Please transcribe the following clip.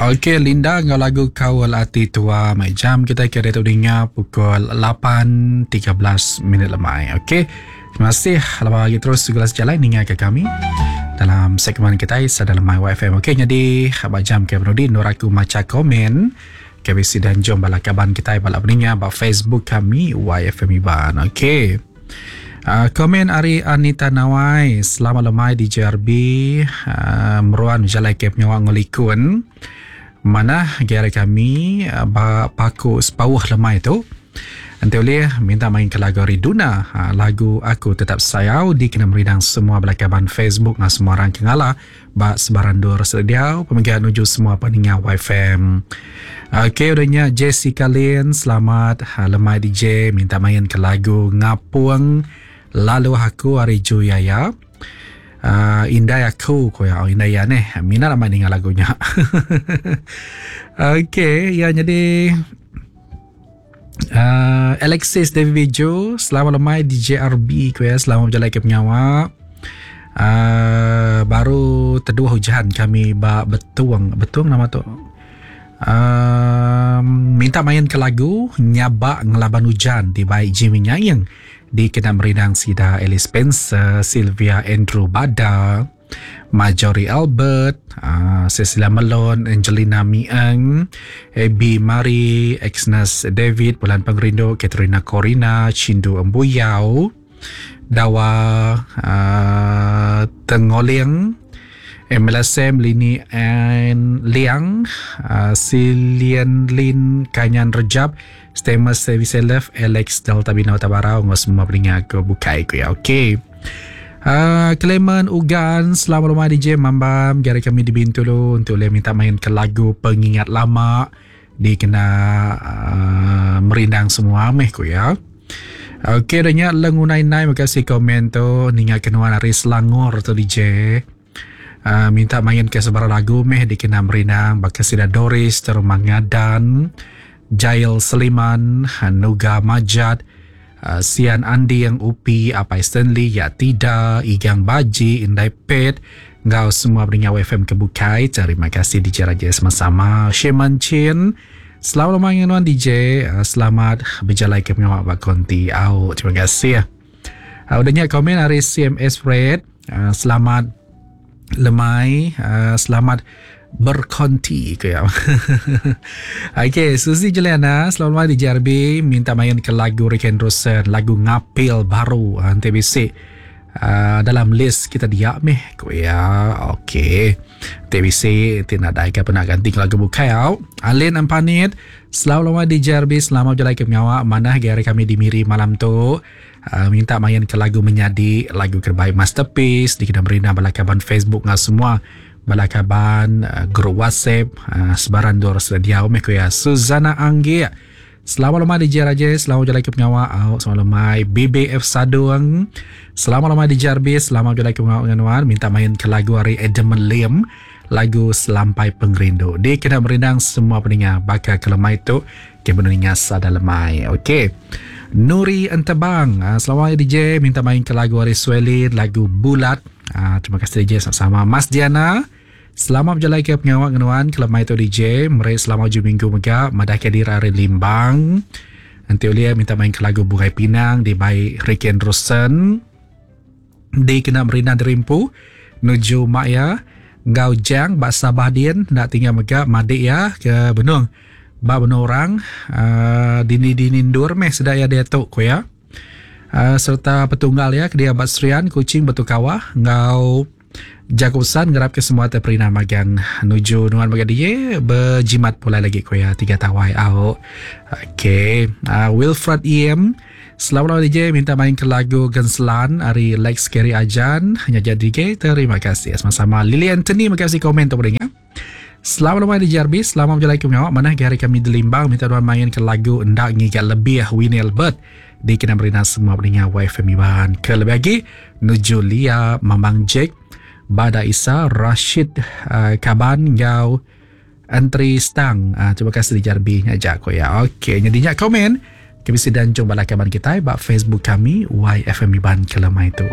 Okey Linda enggau lagu Kaul Ati Tua mai jam kita ke diatu dinga pukul 8.13 minit lemai. Okey. Terima kasih lama lagi terus segala sejalai ninga ke kami dalam segmen kita sada lemai YFM. Okey jadi ba jam ke penudi nur aku macha komen ke bisi dan jom bala kaban kita bala peninga ba Facebook kami YFM Iban. Okey. Uh, komen ari Anita Nawai, selamat lemai di JRB, uh, ah, meruan jalai ke penyawa ngelikun. Manah gaya kami uh, ba paku sepauh lemai tu. Enti ulih minta main ke lagu ari Duna, uh, lagu Aku Tetap Sayau dikena merindang semua bala kaban Facebook ngau semua orang ke ngalah Ba sebarang endur sediau pemega nuju semua peninga YFM. Okey udah nya Jessica Lin selamat ha, lemai DJ minta main ke lagu Ngapung lalu aku ari Juyaya. Uh, indai aku ko ya oh, indai ya neh minat amat ninga lagu nya. Okey ya jadi Uh, Alexis David Bijo, selamat lemai di JRB ku ya, selamat berjalan ke pengawa. Uh, baru teduh hujan kami ba Betung, Betung nama tu. Uh, minta main ke lagu Nyabak Ngelaban Hujan di baik Jimmy Nyaing di kena merindang sida Alice Spencer, Sylvia Andrew Bada. Marjorie Albert, uh, Cecilia Melon, Angelina Mieng, Abby Marie, Exness David, Bulan Pengerindu, Katerina Corina, Chindu Embuyau, Dawa uh, Tengoling, MLSM Lini Ann Liang, uh, Silian Lin Kanyan Rejab, Stemus Service Love, Alex Delta Bina Tabarau, ngau semua peninga ke bukai ku ya. Okey. Uh, Clement Ugan, selamat rumah DJ Mambam. Gari kami di Bintulu untuk boleh minta main ke lagu Pengingat Lama. Dikena uh, merindang semua meh ku ya. Okey, dah nya lengunai nai makasih komen tu. Ninga kenuan ari Selangor tu DJ. Uh, minta main ke sebarang lagu meh dikena merindang baka sida Doris Terumah Ngadan, Jail Seliman, Nuga Majat, Uh, Sian Anding, Upi, Apai Stanley, Ya Tida, Igang Baji, Indai Pet, enggau semua pendengar FM ke bukai. Terima kasih DJ Raja sama-sama. Sheman Chin, selamat lemai dengan nuan DJ. Uh, selamat berjalai ke pengawa ba konti. Au, terima kasih. Uh, udah nya komen ari CMS Fred. Selamat lemai, selamat berkonti ke ya. Okey, Suzy Juliana, selamat lemai di JRB minta main ke lagu Rick Anderson, lagu Ngapil baru nanti bisi uh, dalam list kita dia meh ku ya. Okey. Nanti bisi ti nadai ke pernah ganti ke lagu bukai au. Alin Ampanit, selamat lemai di JRB, selamat berjalai ke pengawa manah gaya kami di Miri malam tu. Uh, minta main ke lagu menyadi lagu terbaik masterpiece dikena merina bala kaban Facebook ngau semua bala kaban uh, grup WhatsApp uh, sebaran dua orang diau meh ku ya Suzana Anggi Selamat lemai DJ Raja Selamat berjalai ke pengawa oh, Selamat lemai BBF Sadung Selamat lemai DJ RB Selamat berjalai ke pengawa dengan nuan Minta main ke lagu hari Adam Lim Lagu Selampai Pengerindu Dikena merindang semua peninga Baka ke lemai tu Ke peninga sada lemai Okey Nuri Entebang ah, Selamat hari DJ Minta main ke lagu hari Swelin Lagu Bulat ah, Terima kasih DJ sama-sama Mas Diana Selamat berjalai ke pengawa ngenuan Ke lemai tu DJ Meri selamat ujung minggu mega Madah ke diri hari Limbang Nanti ulia minta main ke lagu Bungai Pinang Dibai Ricky Anderson Dikena merindang diri empu nuju mak iya enggau Jang ba Sabah din enda tinggal mega madik iya ke benung ba menua orang uhh dini-dini endur meh sida iya diatu ku iya uhh sereta petunggal iya ke diau ba Serian Kuching Batu Kawah enggau jaku pesan ngarapka semua te perintah magang nuju nuan mega diye bejimat pulai lagi ku iya tiga tawai au. Okey uhh Wilfred Iem. Selamat malam DJ minta main ke lagu Genselan ari Lex Kerry Ajan nya jadi DJ terima kasih sama-sama Lily Anthony mega bisi komen tu boleh nya. Selamat malam DJ RB selamat berjalai ke pengawa manah ge hari kami di Limbang minta nuan main ke lagu enda ngiga lebih Winnie Albert dikena merina semua peninga YFM Iban ke lebih agi nuju Lia Mamang Jack Bada Isa Rashid uh, Kaban enggau Entri stang. Ah, terima kasih di JRB nya aja ko ya. Okey, nyadi nya komen. Ke bisi danjung bala kaban kitai ba Facebook kami YFM Iban ke lemai tu.